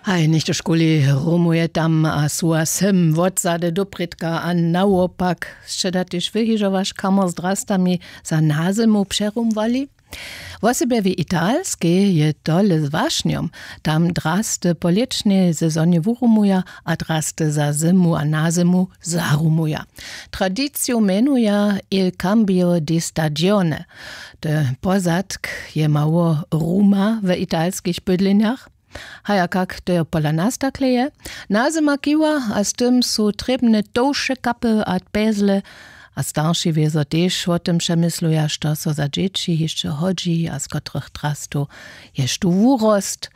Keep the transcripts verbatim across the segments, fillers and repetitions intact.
Haj, něchtožkuli rumuje tam a su a sym wotzady doprědka a nawopak. Sće da tež wyhižowaš kamor z drastami za nazymu přerumwali? Wosebje w Italskej je tole z wašnjom. Tam drasty po lěćnej sezonje wurumuja a drasty za zymu a nazymu zarumuja. Tradiciju mjenuja Il cambio di stagione. Te pozadk je mało ruma w italskich bydlenjach. Haja kak to je pola nas takle je? Nazyma kiwa a z tym su trěbne towše kapy a pezle. A starši wězo tež wo tym přemysluja, što so za dźěći hišće hodźi a z kotrych drastow jež tu wurost.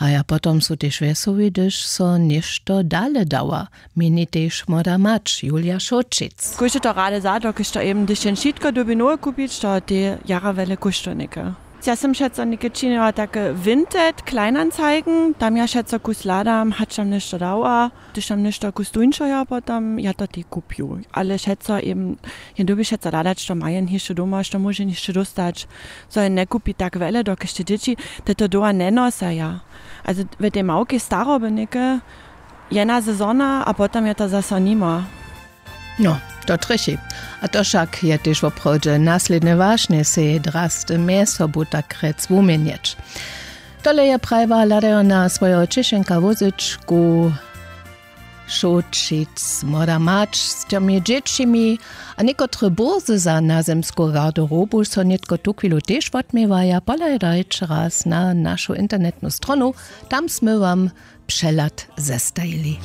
A ja potom su tež wjesołi, hdyž so něšto dale dawa, měni tež młoda mać Julia Šołćic. Kóždy to rady za to, kiž to eben hdyž jen wšitko dyrbi nowe kupić, to te jara wjele kóštow něke. Ja sym přeco něke činila take Vinted, Kleinanzeigen, tam ja přeco kus hladam, hač tam něšto dawa, hdyž tam něšto kus tuńšeho potom ja to tej kupju. Ale přeco eben, jen dyrbi přeco hladać, što ma jen hišće doma, što móže hišće dóstać, zo jen njekupi tak wjele, dokelž te dźěći te to doła njenosaja. Also w tej małkej staroby něke jedna sezona a potom je to zaso nimo. No, to trjechi. A to wšak je tež woprawdźe naslědnje wašnje, sej drasty mjez sobu tak rjec wuměnjeć. Tole je prajiła hladajona swojeho ćěšenka wózyčku Šołćic, młoda mać z tymi dźěćimi. A někotre burze za nazemsku garderobu so nětko tuchwilu tež wotměwaja. Pohladajće raz na našu internetnu stronu, tam smy wam přehlad zestajili.